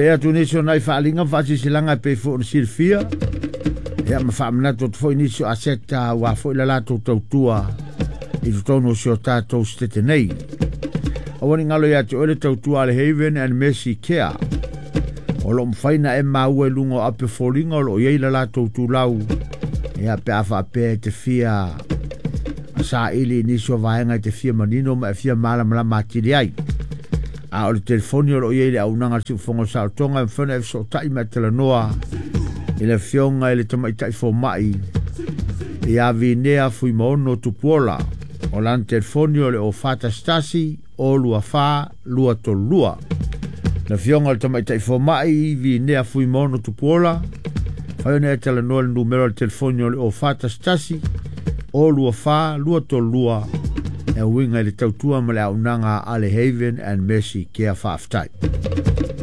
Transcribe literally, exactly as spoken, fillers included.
Te atu nisi o nai faaaliga ma faasilasilaga e pei foi ona silafia ia ma faamanatu atu foi nisi o aseta aua foi le latou tautua i totonu o si o tatou setete nei. Aua ne i galo ia te oe le tautua a le Haven and Mercy Care. O lo o mafai ona e maua i luga o ape foliga o lo o i ai le latou tulau ia pe a faapea e te fia saili i nisi o vaega e te fia manino ma e fia malamalama atili ai. A o le telefoni o lo o i ai le auaunaga a le Siufofoga o le Saolotoga e mafai ona e fesootai ma e talanoa i le afioga i le Tamaitai Fomai ia Vinea Fuimaono Tupuola. O lana telefoni o le o fa tasi tasi o lua fa lua tolu lua. Le afioga i le Tamaitai Fomai Vinea Fuimaono Tupuola, fai ona e talanoa i le numera o le telefoni o le o fa tasi tasi o lua fa lua tolu lua e uiga i le tautua ma le auaunaga a le Haven and Mercy Care. Faafetai.